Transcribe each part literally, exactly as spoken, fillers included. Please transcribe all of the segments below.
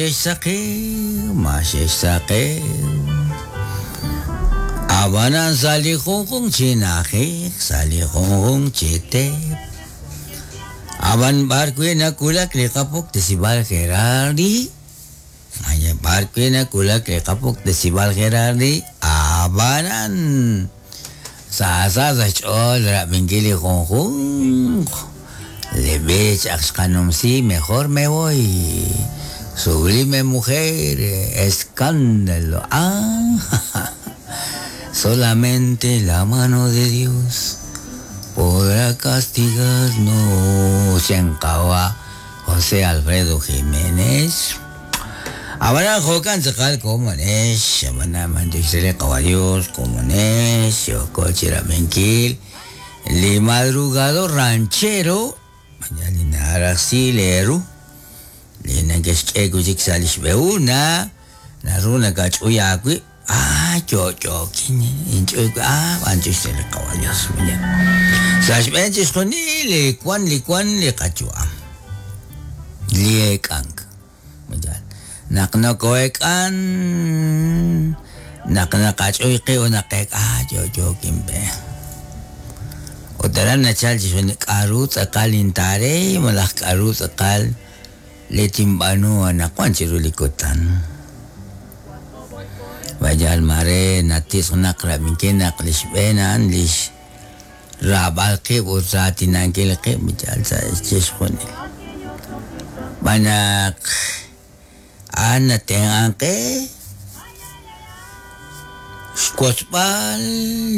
Xexsaqew, ma xexsaqew. Abanan sa' li junjunq chi na'ajej, sa' li junjunq chi teep. Aban b'ar wi' nawulak li qapuktesib'al Gerardi, Ay, b'ar wi' nawulak li qapuktesib'al Gerardi, abanan sa sa sa xch'ool rab'inkil li junjunq. Le b'ich ak xqanumsi, mejor me voy. Sublime mujer, escándalo. Ah, solamente la mano de Dios podrá castigarnos. Xenkawa José Alfredo Jiménez. Abana jokan tzakal komonex, abana mandixele Dios komonex, yokochira menkil, li madrugador ranchero, mañana leru. Li nakexk'e wi' sa' li xb'ehuna naru nakach'uy aawib' ah yo'yo'kin inch'uy ah b'anchux li qawa Dios sa' xb'een chixjunil li wan li wan li qayu'am li eek'ank naq noko'eek'an naq naqach'uy qib' naqeek ah yo'yo'kin pe ut aran nachal chixjunil k'a'ru tz'aqal intaarey malaj k'a'ru tz'aqal le timb'anu anaqwan chiru li kutan. Vayal mare natis naq rab'inkil naq li xb'een a'an lix raab'al qib' ut raatinankil qib' yal sa' chixjunil. B'anaq a'an natenq'an qe xwotzb'al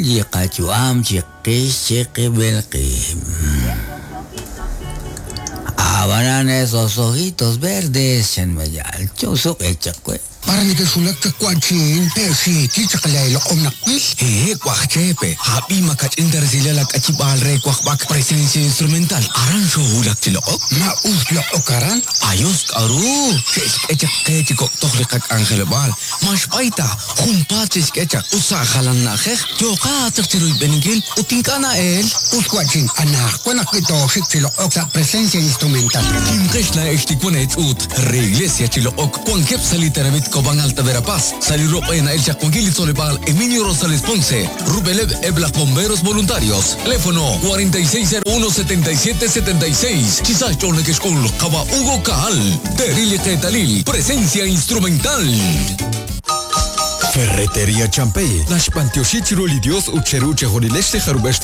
li qayu'am chiqix chiqib'il qib'. Abanan esos ojitos verdes, chan mayal, chusuq echakwe. Para nikesulak chakwachin, pexi, chichakalay loqom nakwil. Eh, kwajchepe, habi makachinta resila la kachibal re kwajbak presencia instrumental. Aran shohulak chiloqok. Ma us loqokaran. Ayos karu. Xechak chiko tohliqak angelebal. Mashbaita, junpa chechkechak, usa jalan najej, yoqa chiruy beningil, utinkana el. Us kwachin, anaj, kwanakito, chiloqok sa presencia instrumental. Kimqeshla echtikwane ut, re iglesia chiloqok, kuankep saliteramit Cobán Alta Verapaz, Salirop en El Chacuanquil Solepal, Emilio Rosales Ponce, Rubelev Ebla Bomberos Voluntarios, teléfono cuarenta y seis cero uno setenta y siete setenta y seis, Chisacho Nequexcul, Jaba Hugo Caal, Terili Ketalil, presencia instrumental. Ferretería Champey, Nash Pantioshi Chiruli Dios Ucheruche Jorilesh Jarubesh